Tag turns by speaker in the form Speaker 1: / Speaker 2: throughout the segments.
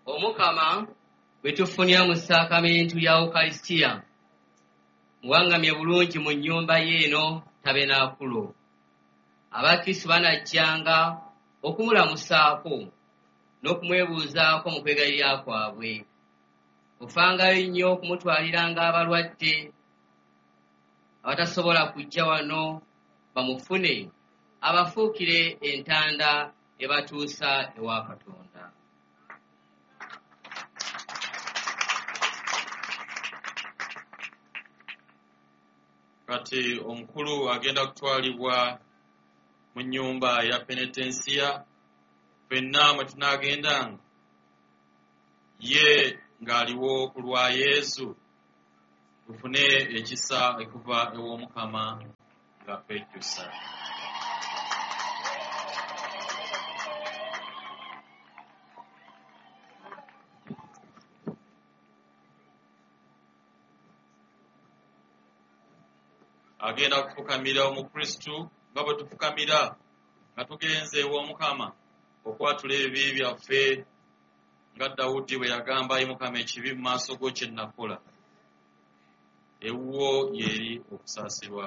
Speaker 1: Omukama bwe tufunira mu ssaakamentu ya Ukaristia, muwaŋŋamye bulungi mu nnyumba ye eno tabenaakulo. Abakristu banajjanga okumulamusaako n'okumwebuuzaako mu kwegayirira kwabwe. Ofangayo nnyo okumutwaliranga abalwadde abatasobola kujja wano bamufune, abafuukire entanda ebatuusa ewa Katonda.
Speaker 2: Kati omukulu agenda kutwalibwa mu nnyumba ya penetensiya, ffenna mwe tunaagendanga, ye ng'aliwo ku lwa Yezu, tufune ekisa okuva ew'Omukama nga twejjusa. Agenda kufukamira Omukristu nga bwe tufukamira nga tugenze ew'Omukama okwatula ebibi byaffe, nga Dawudi bwe yagamba, Ayi Mukama, ekibi mu maaso go kye nakola, ewuwo y'eri okusaasirwa.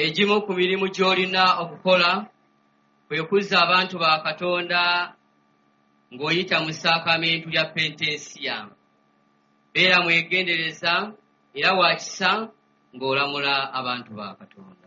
Speaker 1: Egimu ku mirimu gy'olina okukola kwe kuzza abantu ba Katonda ng'oyita mu ssaakamentu lya penitensiya. Beera mwegendereza era wa kisa ng'olamula abantu ba Katonda.